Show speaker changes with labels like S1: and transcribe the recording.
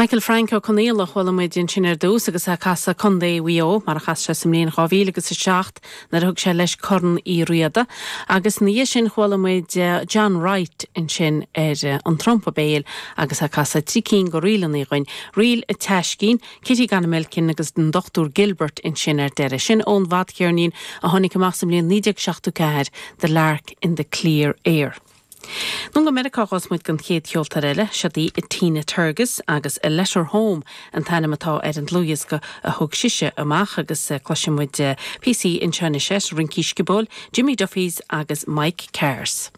S1: Michael Frank Ó Conaola a chuala muid ansin ar dtús agus é ag casadh Contae Mhaigh Eo, mar a chas sé sa mbliain 2000 agus 7 nuair a thug sé leis Corn Uí Riada. Agus ina dhiaidh sin chuala muid John Wright ansin ar an trumpa béil agus é ag casadh trí cinn de ríleanna dhúinn, Ríl an tSeaiscín, Kitty Gone-a-Milkin agus an Dr Gilbert ansin ar deireadh. Sin ón bhfadcheirnín a tháinig amach sa mbliain 1974, The Lark in the Clear Air. Anonn go Meiriceá a ghabhfas muid don chéad cheoltóir eile, siod í Tina Turgis agus A Letter Home an t-ainm atá ar an dlúthdhiosca a thug sise amach agus cloisfidh muid píosaí anseo anois as Rincí Sciobóil, Jimmy Duffys agus Mike Carrs.